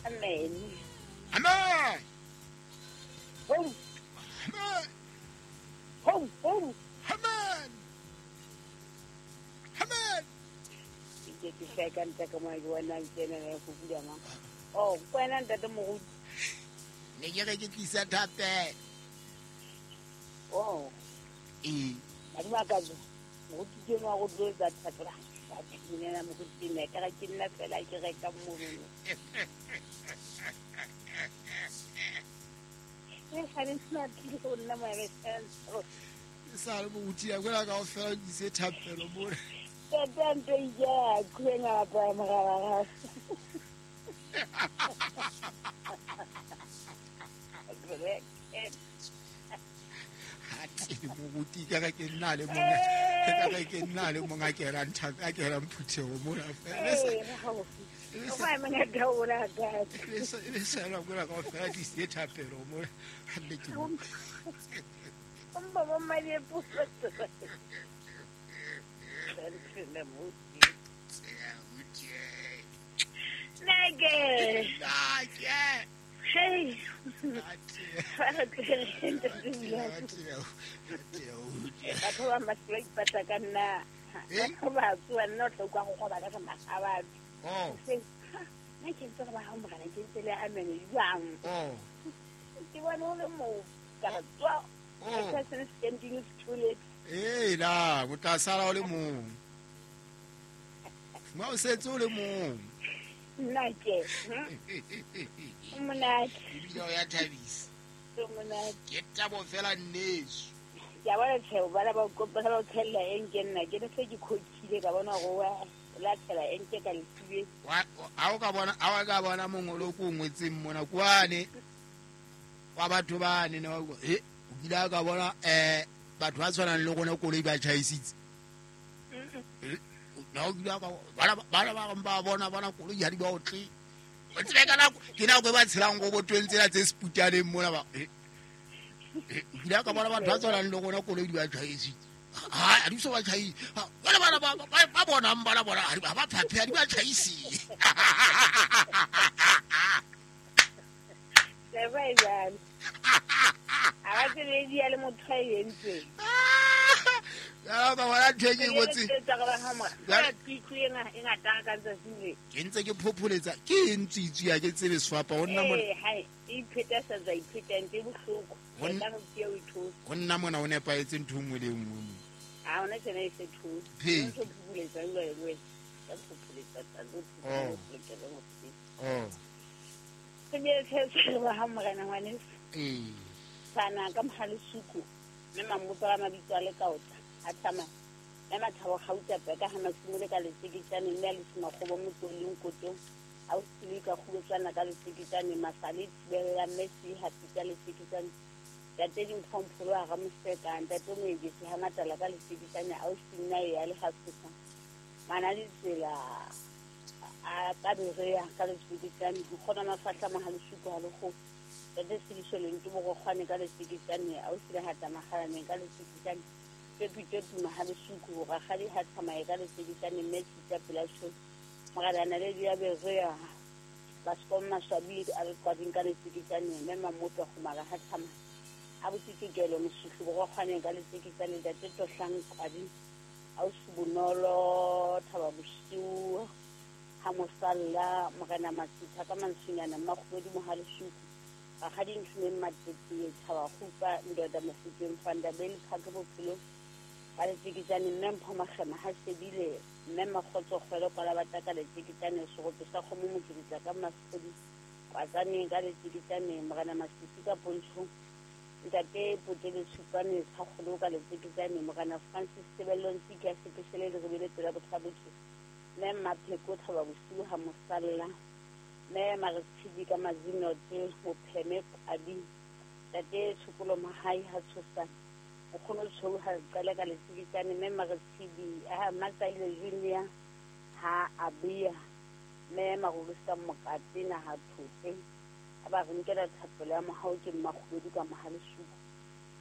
Amen. Amen. Ho. Amen. Ho, ho. Amen. Amen. Ke ke feka ntle ka mo ke bona tsena le go bula mang. Oh, kwena ntate moruti. Ne ke re ke tlisa thapelo. Oh. Ee. Madimo a ka jo. Moruti ke nwa go tlo tsa thapelo. Ba thinela moruti ne ka re ke nna fela ke reka mono. E ga le sna tlile go nna mo ya Sa le moruti ya kwela ka ofela o tlise thapelo mo. Tata nto ya kwenga pa mogala. Ate moruti ka re ke nna le mong. Ka re ke nna le mong a kerang thapelo a kerang phuthego mona fela. O fa mona daola ka. Le sa la kwela ka ofela tlise thapelo mo. Ha le ke. Mba ba madi e puso. Nake. Nake. Hey. Batho ba masula ipatla ka nna. Batho ba tsoa nna o tla utlwa go goba ka magabatho. Oh. Nna ke ntse re ba hao morena ke ntse le amen jwang. Oh. Ke bona o le moo ka re tswa. Oh. Person standing is too late. Ee la, o tla sala o le mong. Ma o setse o le mong. Nna ke. O monate. Ebile o ya thabisa. O monate. Ke tabo fela nneso. Ke a bona tjhe, bana ba ba ba tshella eng ke nna ke ne se ke khotshile ka bona gore wa lathela eng ke ka lesibe. Wa ha o ka bona ha o ka bona mongolo ko ngwetseng mona kwane. Wa batho ba ne ne wa he o kile a ka bona batho ba tshwanang le rona koloi ba tjhaisitse. Na o kile a ka bana ba bang ba bona bona koloi ha di ba otle. O tsebe ka nako ke nako e ba tshelang go botweng tsela tse seputaneng mona ba. O kile a ka bona batho ba tshwanang le rona koloi di ba tjhaisitse. Ha di so ba tjhaise. Bana bana ba bonang bana bona ha ba phaphe ha di ba tjhaise. Le ba e jwalo. Ha ba tsebe di ya le motho a e entseng. Ya ba bona ntho e ke e ngotseng. E ngata ka tsatsi le. Ke ntse ke phopholetsa ke eng tswitswi ya ke tsebe sefapa ho nna mona. Eh, hai, e ipheta sa tsa ipheta ntse bohloko. Ho Ka re ke o ithusa. Ho nna mona o nepahetse ntho e nngwe le e nngwe mo. Ha ona tsena e se thusa. Phe. Ntho phopholetsa le wena. Ka phopholetsa tsa lo Oh. phopholetsa mo. Oh. Ke ne ke ba ha morena ngwaneso. Ee. Sana ka mohalesuku mme mamotso a mabitso a le kaota a tsamaya mme Mathabo Gauta Peka ha Masimole ka letseketsane mme a le Semakgobo Motsoleng Kotong a o sile ka kgobetswana ka letseketsane Masale Thibella mme se hapita letseketsane Ntate Dimphompolo a Ramoseka Ntate Moebesi ha Matala ka letseketsane a o sinna ya le hasosa mana ditsela a ka berea ka letseketsane ho kgona mafahla mohalesuku ha le kgo Ntate Sediso Lento Borokgwane ka letseketsane a o sile hata magalaneng ka letseketsane Pepi Mahalesuku Rakgadi ha tsamaye ka letseketsane mme Tshita pela tjho Morena Naledi ya Berea Baskom Maswabi a le qwading ka letseketsane mme Mamoto Kgomara ha tsamaya a botsikelo Mosuhlu Borokgwane ka letseketsane Ntate Tohlang Qwadi Ausi Bonolo Thaba Bosiu ha Mosalla Morena Masitha ka Mansunyana Mmakgobedi Mohalesuku Rakgadi Nthumeng Matete Thaba Kgupa Ndoda Mofokeng Fandabele Phake Bophelo ka letseketsane mme Mpho Makgema ha sebile mme Makgotso Kgwele Kwalabata ka letseketsane Serope sa kgomo Mokibitsa ka Masodi Kwatsaneng ka letseketsane Morena Masisi ka Pontshong Ntate Potele Tshupane Tshakgolo ka letseketsane Morena Francis Tebello Ntsiki ya sepeshele le rebele pela botlhabotse mme Mmapheko Thaba Bosiu ha Mosalla mme Maretshidi ka Mazinote Mopheme Qadi Ntate Tshokolo Mahai ha Tshosane Nkgono Tshou ha qala ka letseketsane mme Maretshidi ha Matsaile Junior ha Abia mme Marulusa Mokate na ha Thote a ba re nkela thapelo ya mohau ke Mmakgobedi ka Mohalesuku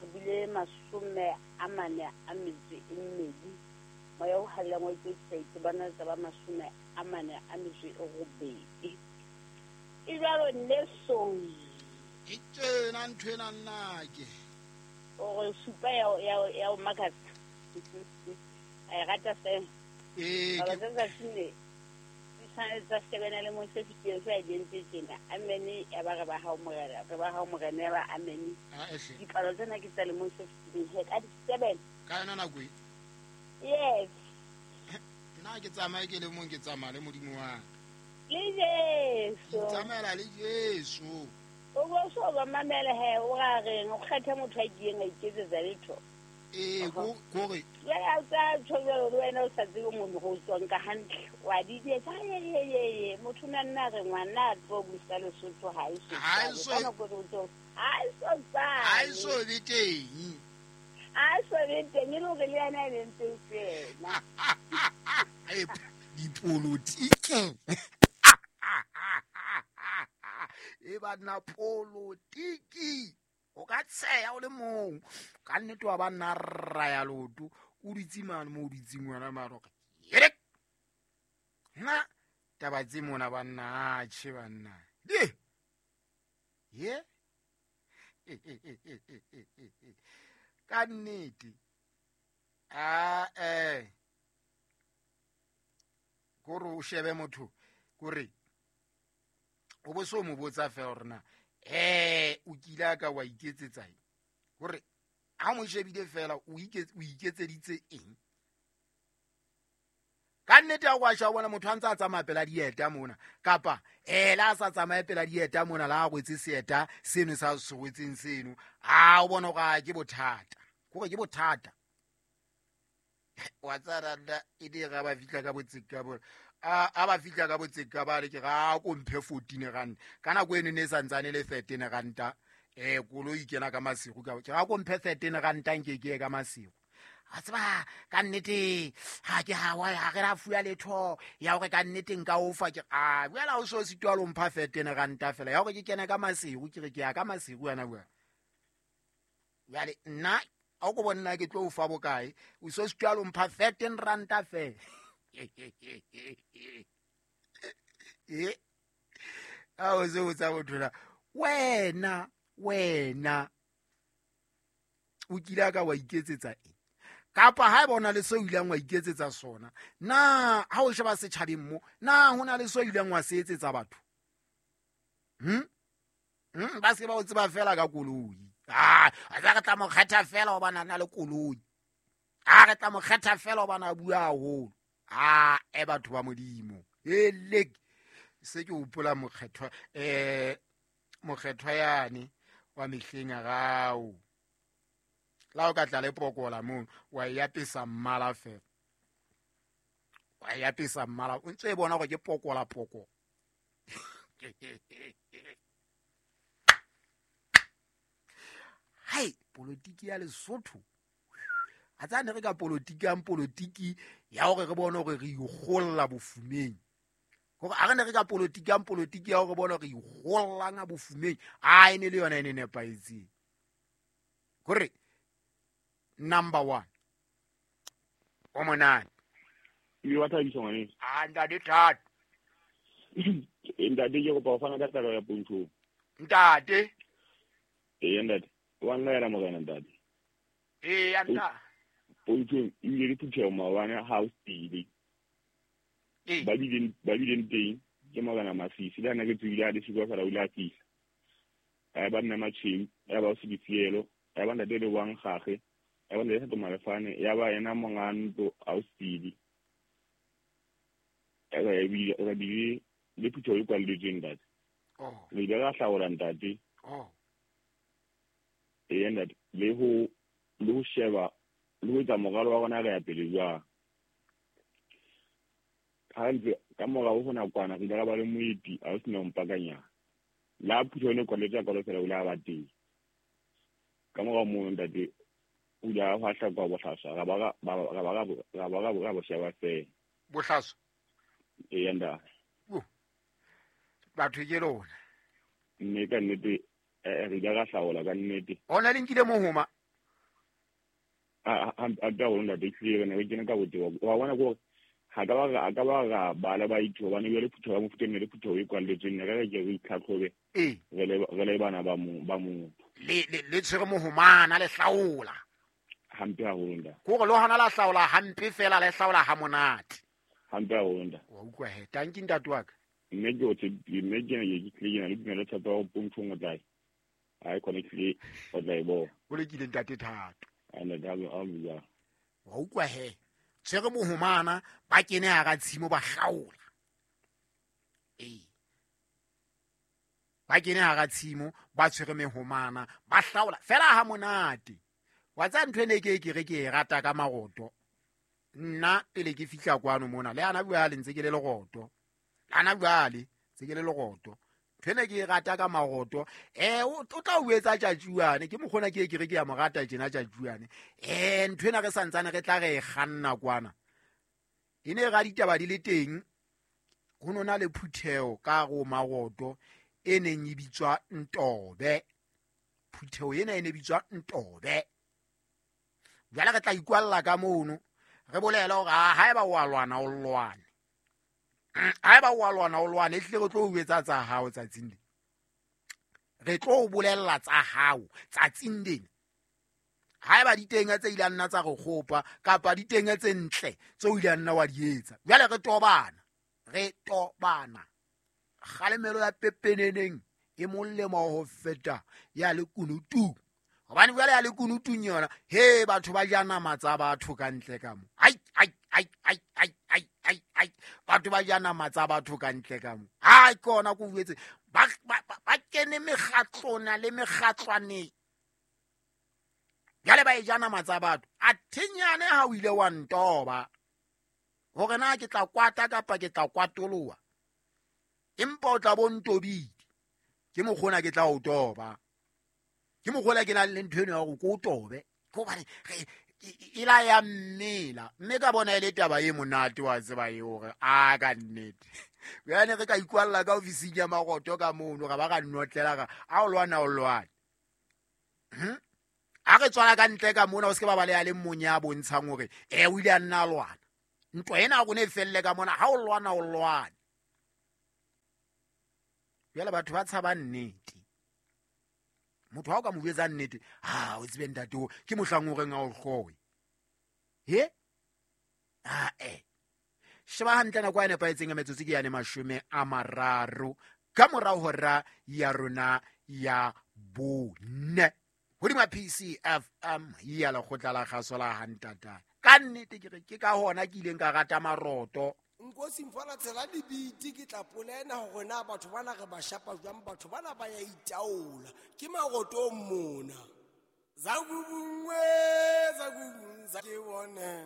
re bile 42 moya o hallang wa itse itse bana tsa ba 48. E jwalo nnesong. Ke tjena ntho ena nnake. O re supa ya o makatsa. A e rata fela. Ee, Baba tsa tsatsing tsa shebana le motho se se a dintse tjena. Amen ya ba re ba hao morena, re ba hao morena ya ba amen. Dipalo tsena ke tsa le motho se he ka di 7. Ka yona nako e. Yes. Nna ke tsamaye ke le mong ke tsamaya le Modimo wa ka. Le Jesu. Tsamaela le Jesu. O bo so ba mamela he o ra reng o kgetha motho a kileng a iketsetsa letho. Ee, kore. Jwale a tsa tjho le wena o sa tsebe motho go tswang ka hantle. Wa di etsa ye motho na nna re ngwana a tlo busa Lesotho ha e so. Ha e so be teng. Ha so be teng e le hore le yena e leng tsena. Dipolotiki. E ba nna polotiki. O ka tsheya o le mong. Ka nnete wa ba nna rra ya loto. O ditse mane mo o ditseng wena maro. Yere. Nna taba tse mona ba nna atjhe banna. Di. Ye. Ka nnete. A Kore o shebe motho kore o bo so mo botsa fela hore na o kile ka wa iketsetsa eng. Kore ha mo shebile fela o iketseditse eng. Ka nnete ha wa sha bona motho a ntse a tsamaya pela dieta mona kapa la sa tsamaye pela dieta mona la rwetse seeta seno sa se rwetseng seno a o bona hore ke bothata. Kore ke bothata. Wa tsaranda e di ga ba fihla ka botseka bona. A ba fihla ka botseka ba re ke ga ko mphe 14 rand. Ka nako eno ne santsane le 13 ranta. Koloi kena ka masigo ka ke ga ko mphe 13 ranta nke ke ka masigo. A tseba ka nnete ha ke ha wa ha re ra fuya letho ya hore ka nnete nka o fa ke a bua o so sitwa lo mpha 13 ranta fela ya hore ke kena ka masigo ke re ke ya ka masigo yana bua. Jwale nna a go bona ke tlo fa bokae o so sitwa lo mpha 13 ranta fela. A o se o tsa bothola wena o kile ka wa iketsetsa eng kapa ha e bona le so ileng wa iketsetsa sona na ha o sheba setjhabeng mo na hona le so ileng wa se etsetsa batho ba se ba o tseba fela ka koloi a re tla mo kgetha fela o bana na le koloi a re tla mo kgetha fela o bana bua haholo a e batho ba Modimo elek se ke hopola mokgethwa mokgethwa yane wa mehleng ya gao la o ka tla le pokola mo wa ya pesa mmala fela wa ya pesa mmala o ntse e bona gore ke pokola poko hai politiki ya Lesotho a tsane re ka politiki ya politiki ya hore re bone hore re ikgolla bofumeng hore a re ne re ka politiki ya politiki ya hore bone hore re ikgollanga bofumeng a ene le yona ene nepahetseng hore number 1 o monate e wa thabisa ngwane a ntate thato ntate ke kopa ho fana ka taba ya pontsho ntate ee ntate wa nna yena morena ntate ee ya ntate pontsho ebile le phuthego maobane ha o stile ba bileng teng ke morena Masisi le ana ke tswile a le siko fela o ile a fihla a ba nna matsheng ya ba o se difielo ya ba ntate le wang gage ya ba ntate Thato Malefane ya ba yena monga ntlo a o stile ya ba bile le phuthego e kwalletsweng ntate re ile ra hlaola ntate ee ntate le ho sheba le ho etsa moralo wa rona re ya pele jwang hantle ka morao ho nakwana re ile ra ba le moeti a o sena mpakanya la phuthego ne kwalletswe ka fela o ile a ba teng ka morao moo ntate o ile a hwahla kwa bohlaswa ra ba bo sheba fela bohlaswa ee ntate batho ke lona mme ka nnete re ile ra hlaola ka nnete ona le nkile mohoma a ka hore ntate tlile re ne re kene ka botebo wa bona gore Ha ka ba ka ba ra bala ba itho bana le phutheho ya mofuta le phutheho e kwalletsweng re re ke re itlhatlhobe re le bana ba mo le tshwere mohomana le hlaola hampe haholo nda ko re le hona la hlaola hampe fela le hlaola ha monate hampe haholo nda wa utlwa he tanki ntate wa ka mme ke o mme ke ke tlile le dumela tshepo ya pontshong o tla ai connectly o tla e bona o lekile ntate Thato ene da a bua wa utlwa he tshwere mohomana ba kene hara tshimo ba hlaola ba kene hara tshimo ba tshwere mehomana ba hlaola fela ha monate wa tsa ntho ene ke re ke e rata ka maroto nna pele ke fihla kwano mona le ana bua le ntse ke le leroto ana bua le ntse ke le leroto ntho ene ke e rata ka maroto o tla o etsa tjatjuane ke mokgona ke ke re ke ya mo rata tjena tjatjuane ntho ena re santsane re tla re e kganna kwana e ne ra ditaba di le teng ho nona le phutheho ka go maroto e neng e bitswa Ntobe phutheho ena e ne bitswa Ntobe jwale re tla ikwalla ka mono re bolela hore haeba o a lwana o lwane haeba o a lwana o lwane ehlile re tlo o etsa tsa hao tsatsing lena re tlo o bolella tsa hao tsatsing lena haeba diteng tse ile nna tsa re kgopa kapa diteng tse ntle tse o ile nna wa di etsa jwale re tobana kgalemelo ya pepeneneng e molemo ho feta ya lekunutu hobane jwale ya lekunutung yona he batho ba ja nama tsa batho ka ntle ka mo ai ai ai ai ai ai ai ai batho ba ja nama tsa batho ka ntle ka mo ai ke ona ko buetse ba kene mekgatlona le mekgatlwaneng jwale ba e ja nama tsa batho a thenyane ha o ile wa ntoba hore na ke tla kwata kapa ke tla kwatoloa empa o tla bo ntobile ke mokgona ke tla o toba ke mokgona ke na le ntho eno ya hore ko o tobe ke hobane e la ya mmela mme ka bona e le taba e monate wa tseba e hore a ka nnete jane re ka ikwalla ka ofising ya maroto ka mono ra ba ra nnotlela ra a o lwana o lwane a re tswala ka ntle ka mona o se ke ba ba le ya le mong ya bontshang hore o ile a nna a lwana ntwa ena ya rona e felle ka mona ha o lwana o lwane jwale batho ba tshaba nnete motho ha o ka mo jwetsa nnete ha o tsebe ntate o ke mohlang o reng a o hloe he a sheba hantle nako e nepahetseng ya metsotso ke yane 30 ka morao hora ya rona ya 4 hodima PCFM ya lekgotla la kgaso la hantata ka nnete ke re ke ka hona ke ileng ka rata maroto Nkosi mfana tsela dibiti ke tla polena hore na batho bana re ba shapa jwang batho bana ba ya itaola ke maroto mona za gubungwe za gubunza ke bone